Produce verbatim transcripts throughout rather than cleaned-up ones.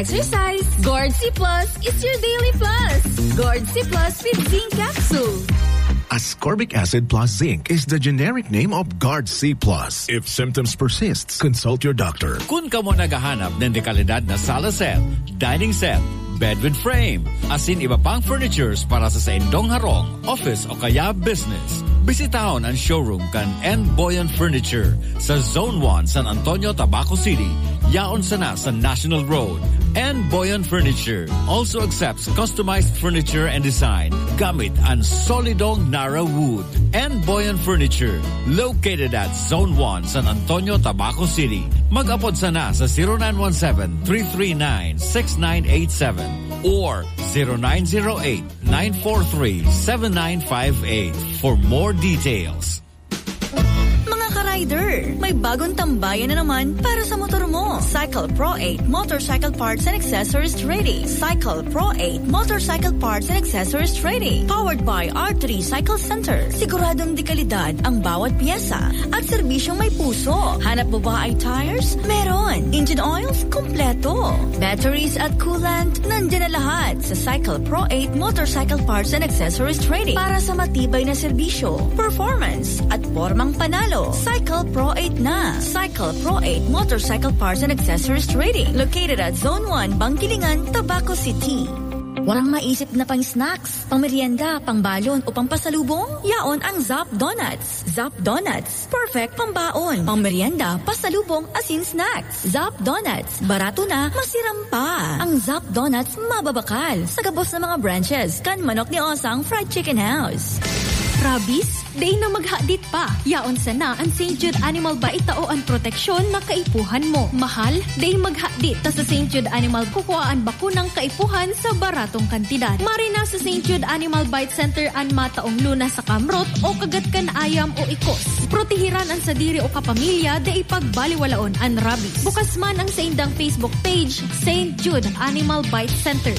Exercise. Guard C Plus is your daily plus. Guard C Plus with zinc capsule. Ascorbic acid plus zinc is the generic name of Guard C Plus. If symptoms persist, consult your doctor. Kun kamo naghahanap nin dekalidad na sala set, dining set, bed with frame, asin iba pang furnitures para sa saindong harong, office o kaya business, bisitahon an showroom kan N Boyan Furniture sa Zone one, San Antonio, Tabaco City. Yaon sana sa National Road. N Boyan Furniture also accepts customized furniture and design gamit an solidong Nara Wood. N Boyan Furniture, located at Zone one, San Antonio, Tabaco City. Mag-apod sana sa zero nine one seven, three three nine, six nine eight seven or zero nine zero eight, nine four three, seven nine five eight for more details. Mga ka-rider, may bagong tambayan na naman para sa motor mo. Cycle Pro eight Motorcycle Parts and Accessories Trading. Cycle Pro eight Motorcycle Parts and Accessories Trading. Powered by R three Cycle Center. Siguradong dekalidad ang bawat pyesa at serbisyong may puso. Hanap mo ba ay tires? Meron. Engine oils? Kompleto. Batteries at coolant? Nandiyan na lahat sa Cycle Pro eight Motorcycle Parts and Accessories Trading para sa matibay na serbisyo, performance, at pormang panalo. Cycle Pro eight na. Cycle Pro eight Motorcycle Parts and Accessories Trading, located at Zone one, Bangkilingan, Tabaco City. Warang maisip na pang-snacks, pang-merienda, pang-balon o pang-pasalubong? Yaon ang Zap Donuts. Zap Donuts, perfect pambaon, pang-merienda, pasalubong, asin snacks. Zap Donuts, barato na, masiram pa. Ang Zap Donuts mababakal sa gabos na mga branches kan Manok ni Osang Fried Chicken House. Rabies? Dai na maghadit pa. Yaon sana an Saint Jude Animal Bite, tao an proteksyon na kaipuhan mo. Mahal? Dai maghadit ta sa Saint Jude Animal kukua an bakunang kaipuhan sa baratong kantidad. Mari na sa Saint Jude Animal Bite Center an mataong luna sa kamrot o kagat kan ayam o ikos. Protehiran an sadiri o kapamilya, dai pagbaliwalaon an rabies. Bukas man ang saindang Facebook page, Saint Jude Animal Bite Center.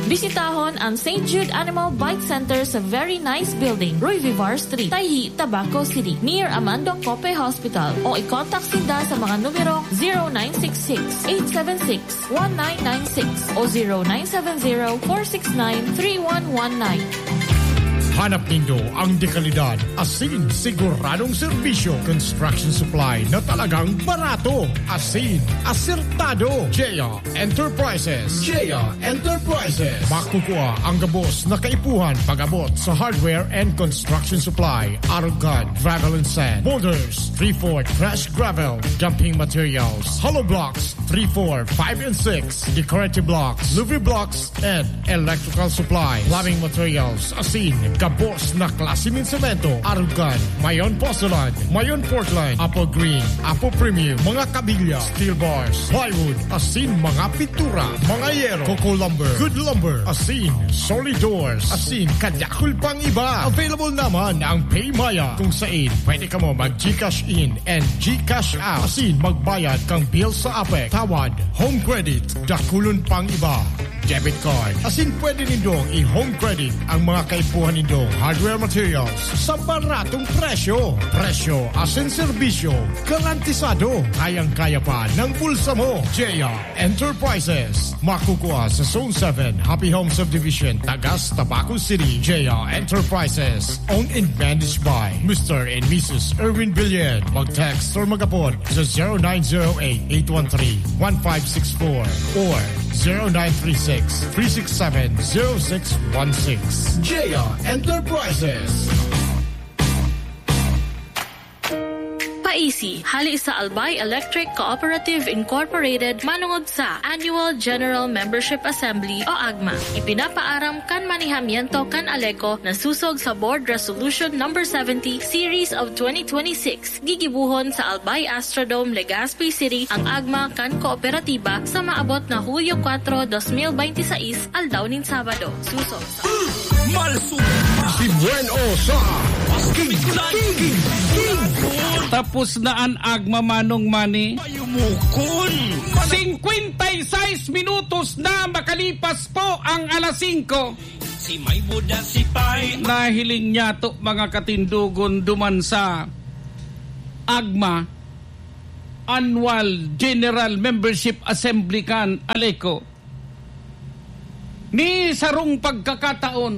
Bisitahon ang Saint Jude Animal Bite Center sa Very Nice Building, Roy Vivar Street, Tayhi, Tabaco City, near Amando Cope Hospital, o i-contact sinda sa mga numerong zero nine six six, eight seven six, one nine nine six o zero nine seven zero, four six nine, three one one nine. Hanap nindo ang dekalidad, asin siguradong serbisyo. Construction supply na talagang barato, asin asertado. Jaya Enterprises. Jaya Enterprises. Makukua ang gabos na kaipuhan pag-abot sa hardware and construction supply. Arog kan, gravel and sand, boulders, three four crush gravel, dumping materials, hollow blocks, three four, five and six, decorative blocks, louvre blocks, and electrical supply, plumbing materials, asin gabos na klase nin semento, arog kan, mayon Pozzolana, mayon Portland, Apple Green, Apple Premium, mga kabilya, steel bars, plywood, asin mga pintura, mga yero, Coco Lumber, Good Lumber, asin solid doors, asin kadakul pang iba. Available naman ang PayMaya, kung sain pwede kamo mag-GCash in and GCash out, asin magbayad kan bill sa APEC, tawad, home credit, dakulon pang iba, debit card. Asin pwede nindong i-home credit ang mga kaipuhan nindong hardware materials sa baratong presyo. Presyo asin serbisyo garantisado. Kayang-kaya pa ng bulsa mo. Jaya Enterprises. Makukua sa Zone seven, Happy Home Subdivision, Tagas, Tabaco City. Jaya Enterprises. Owned and managed by Mister and Missus Erwin Billion. Mag-text or mag-apod sa zero nine zero eight, eight one three, one five six four or zero nine three six, three six seven, zero six one six. Jaya Enterprises. Paisi, hali sa Albay Electric Cooperative Incorporated, manongod sa Annual General Membership Assembly o AGMA. Ipinapaaram kan manehamiento kan ALECO na susog sa Board Resolution Number seventy, Series of twenty twenty-six, gigibohon sa Albay Astrodome, Legazpi City, ang AGMA kan kooperatiba sa maabot na Hulyo kuwatro, dos mil bente y seis, aldaw nin Sabado. Susog sa Malsog. Si Buen O sa King, King, King. Tapos na an AGMA, Manong Manny. Payumukon. Singkwenta y seis minutos na makalipas po ang alas singko. Si may buda, si pay. Nahiling niyato, mga katindogon, duman sa AGMA. Annual General Membership Assembly kan ALECO. Ni sarong pagkakataon,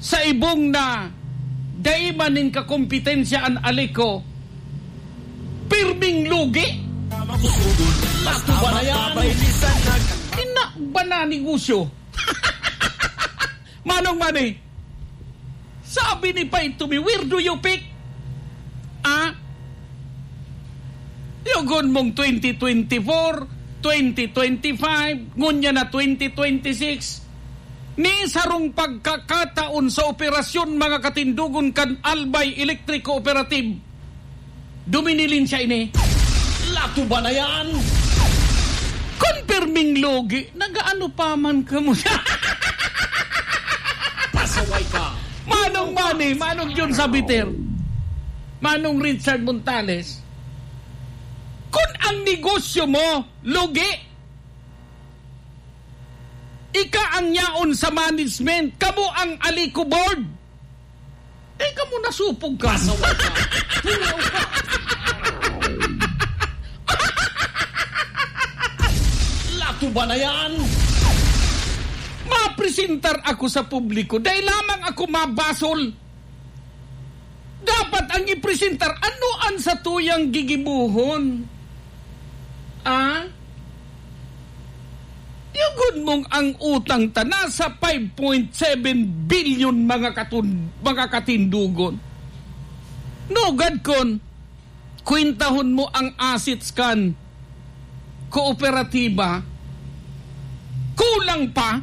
sa ibong na dai man nin kakompetensya an ALECO, pirming lugi. Lato ba na yan? Ina ba na negosyo? Manong Manny, sabi ni Pay to me, "Where do you pick?" Ah? Yugon mong twenty twenty-four, twenty twenty-five, ngunyan na twenty twenty-six. Ni sarong pagkakataon sa operasyon, mga katindogon, kan Albay Electric Cooperative, duminilin siya ini. Lato ba na yan? Kun pirming lugi, nagaano pa man kamo siya? Pasaway ka. Manong Manny, Manong John Sabiter, Manong Richard Montales, kun ang negosyo mo, lugi, ika ang yaon sa management, kamo ang ALECO board. Eh, kamo nasupog ka. Pasaway ka. Tulaw ka. Lato ba na yan? Mapresentar ako sa publiko. Dai lamang ako mabasol. Dapat ang ipresentar, ano an satuyang gigibohon? Ah? Yugon mong ang utang ta nasa five point seven bilyon, mga katun-, mga katindogon. Nugad kon kwentahon mo ang assets kan kooperatiba, kulang pa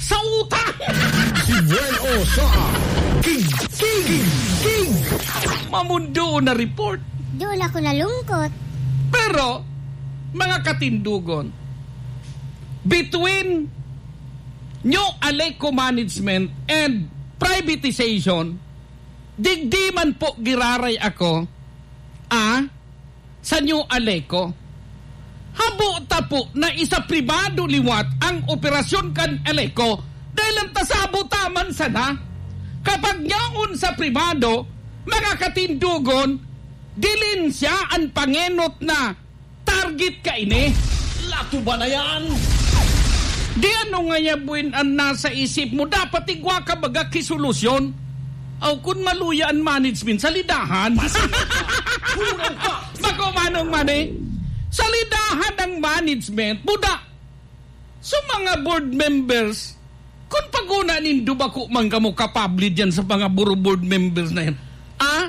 sa utang. Si Buen O sa King, King, King. Mamundo na report. Doon ako nalungkot. Pero, mga katindogon, between New ALECO management and privatization, digdi man po giraray ako, ah, sa New ALECO. Habo ta po na isapribado liwat ang operasyon kan ALECO, dahil ang tasabo taman sana. Kapag yaon sa pribado, mga katindogon, dilin siya an pangenot na target kaini. Lato ba na yan? Di ano ngaya buin an nasa isip mo? Dapat igwa ka baga ki solusyon. Aw, kun maluya an management, salidahan. Pasensya ka. Kulang pa. Bako, Manong Manny, salidahan ang management. Buda, so, mga board members, kun paguna nindo, bako man kamo kapable diyan sa mga buro board members na yan. Ah?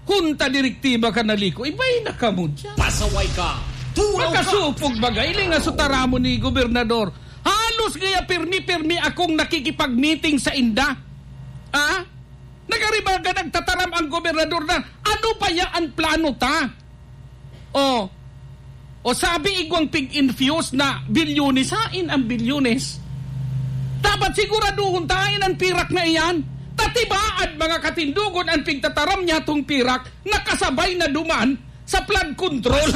Junta direktiba kan ALECO, iba na kamo diyan. Pasaway ka! Tulaw ka! Makasupog baga, ili nga sutaramon ni gobernador. Halos kaya pirmi-pirmi akong nakikipag-meeting sa inda. Ah? Nagaribaga, nagtataram ang gobernador na, "Ano pa ya an plano ta?" Oh. O sabi igwang pig-infuse na bilyones, hain ang bilyones? Dapat siguraduhon ta hain an pirak na iyan. Tatibaad, mga katindogon, an pigtataram niyatong pirak nakasabay na duman sa flood control.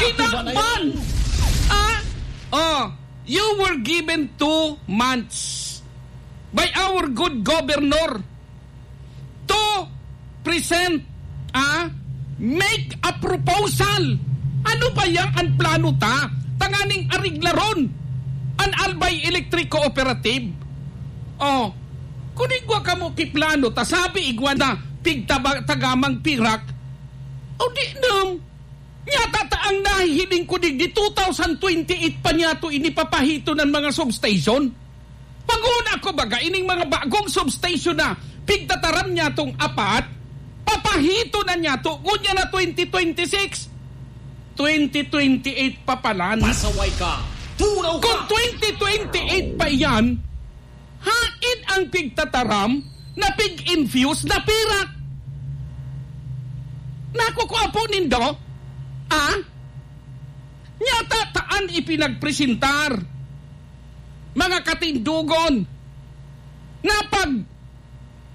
Kinaban! Ah? Oh, you were given two months by our good governor to present, ah, make a proposal. Ano ba yang an plano ta? Tanganing ariglaron an Albay Electric Cooperative. Oh, kun igwa kamo ki plano ta, sabi igwa na pigtaba-, tagamang pirak. O di nam. Nyata ta ang nahihiling ko digdi, two thousand twenty-eight pa niyato ini papahiton an mga substation. Paguna ko baga ining mga bagong substation na pigtataram niyatong apat, papahiton na niyato, ngunyan na twenty twenty-six. Twenty twenty-eight pa palan. Pasaway ka! Tulaw ka! Kung twenty twenty-eight pa iyan, hain ang pigtataram na pig-infuse na pirak? Nakukua po nindo? Ah? Nyata ta an ipinagpresentar, mga katindogon, na pag,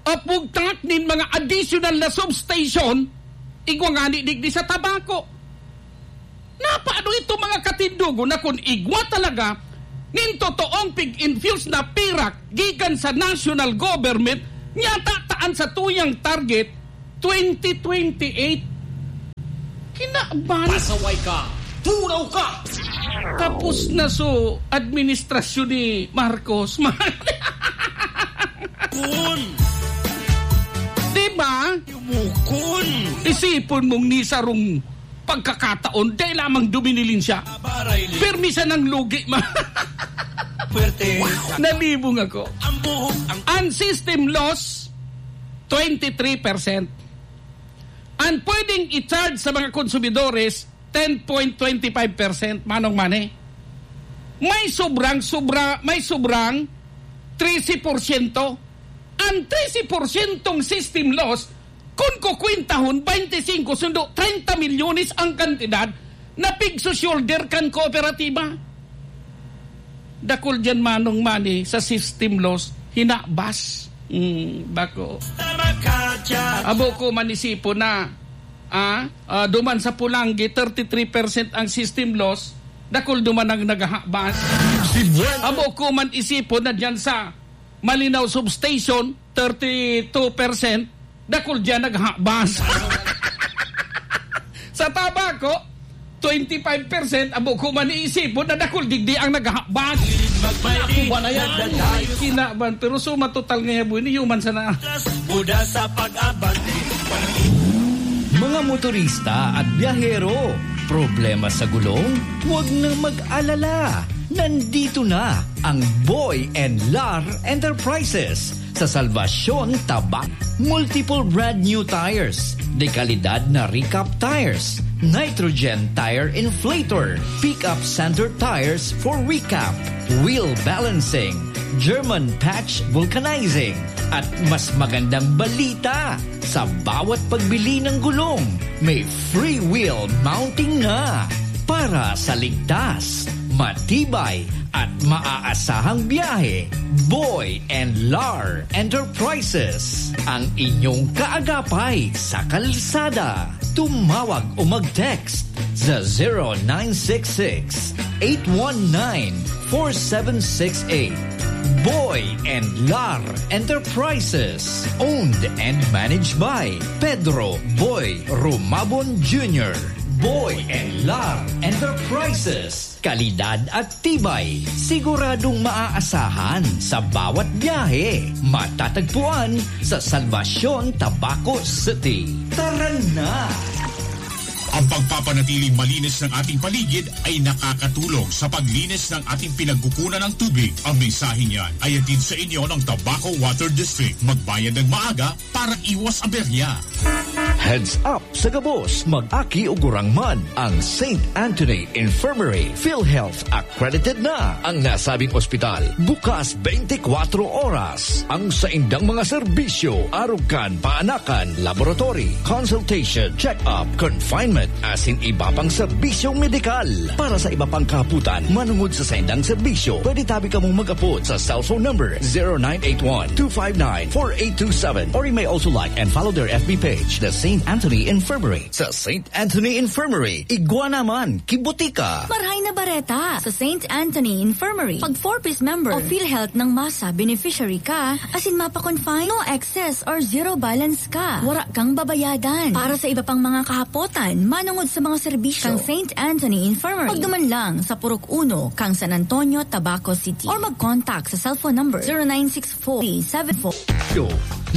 ah, bugtak nin mga additional na substation, igwa ngani digdi sa Tabaco. Napaano ito, mga katindogon, na kun igwa talaga nin totoong pig-infuse na pirak gikan sa national government, nyata ta Ang satuyang target, twenty twenty-eight. Kinaban. Pasaway ka! Turaw ka! Tapos na so administrasyon ni Marcos. Kun! Di ba? Yumukon! Isipon mong ni sarong pagkakataon, dahil lamang duminilin siya. Pirmi siya ng lugi, ma. Puwerte. Nalibong ako. Ang buhok, ang Ang system loss, twenty-three percent. Ang pwedeng i-charge sa mga konsumidores, ten point twenty-five percent, Manong Manny. May sobrang, sobra, may sobrang trese porsyento. Ang trese porsyentong system loss, kun kukwentahon, twenty-five sundo, treinta milyones ang kantidad na pig-shoulder kan kooperatiba. Dakul diyan, Manong Manny, sa system loss, hinabas. Hmm, bako. Abo ko man isipon na, ah, ah, duman sa Pulanggi, thirty-three percent ang system loss, dakul duman ang naghahabas. Si Buen- Abo ko man isipon na diyan sa Malinao Substation, thirty-two percent, dakul diyan naghabas. Sa Tabaco, twenty-five percent, abo ko man iisipon na dakul digdi ang naghabas. Naku, ba na yan? Kinaban, pero suma total nga yabo, ini human sana. Buda sa pag-abante. Mga motorista at biyahero, problema sa gulong? Huwag na mag-alala. Nandito na ang Boy and Lar Enterprises sa Salvacion, Tabac. Multiple brand new tires, de kalidad na recap tires, nitrogen tire inflator, pickup center tires for recap, wheel balancing, German patch vulcanizing, at mas magandang balita, sa bawat pagbili ng gulong, may free wheel mounting na. Para sa ligtas, matibay, at maaasahang biyahe, Boy and Lar Enterprises, ang inyong kaagapay sa kalsada. Tumawag o mag-text sa zero nine six six, eight one nine, four seven six eight. Boy and Lar Enterprises, owned and managed by Pedro Boy Rumabon Junior. Boy and Lar Enterprises. Kalidad at tibay, siguradong maaasahan sa bawat biyahe. Matatagpuan sa Salvacion, Tabaco City. Tara na! Ang pagpapanatiling malinis ng ating paligid ay nakakatulong sa paglinis ng ating pinagkukunan ng tubig. Ang mensaheng yan ay hatid sa inyo ng Tabaco Water District. Magbayad ng maaga para iwas aberya. Heads up sa gabos, mag-aki o gurang man. Ang Saint Anthony Infirmary PhilHealth accredited na. Ang nasabing ospital, bukas twenty-four oras. Ang saindang mga serbisyo, arog kan paanakan, laboratory, consultation, check-up, confinement, asin iba pang serbisyong medikal. Para sa iba pang kahapotan, manungod sa saindang serbisyo, pwede tabi kamong mag-apod sa cellphone number zero nine eight one, two five nine, four eight two seven, or you may also like and follow their F B page, The Saint Anthony Infirmary. Sa Saint Anthony Infirmary, igwa naman, kibutika. Marhay na bareta! Sa Saint Anthony Infirmary, pag four Ps member o PhilHealth ng masa beneficiary ka, asin mapa-confine, no excess or zero balance ka. Wara kang babayadan. Para sa iba pang mga kahapotan, manungod sa mga serbisyo kan Saint Anthony Infirmary, pagduman lang sa Purok Uno, kang San Antonio, Tabaco City. Or mag-contact sa cellphone number zero nine six four three seven four. Yo,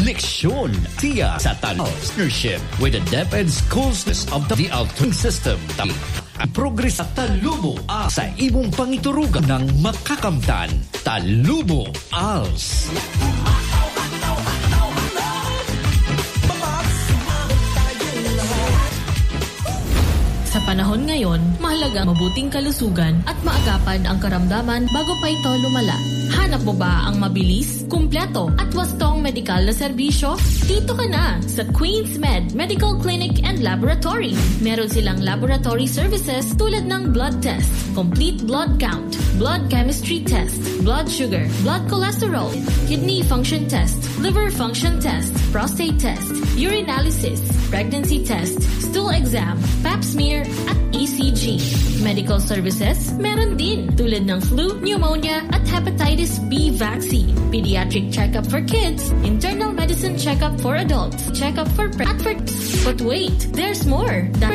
leksyon, tiya sa Talos. Partnership with the DepEd Schools of the Altering System. Ang progres sa Talubo a sa imong pangiturugan ng makakamtan. Talubo als. Sa panahon ngayon, mahalaga ang mabuting kalusugan at maagapan ang karamdaman bago pa ito lumala. Hanap mo ba ang mabilis, kumpleto, at wastong medikal na serbisyo? Dito ka na sa Queens Med Medical Clinic and Laboratory. Meron silang laboratory services tulad ng blood test, complete blood count, blood chemistry test, blood sugar, blood cholesterol, kidney function test, liver function test, prostate test, urinalysis, pregnancy test, stool exam, pap smear, at E C G. Medical services, meron din, tulad ng flu, pneumonia, at hepatitis B vaccine. Pediatric checkup for kids, internal medicine checkup for adults, checkup for pre-, at for... But wait, there's more.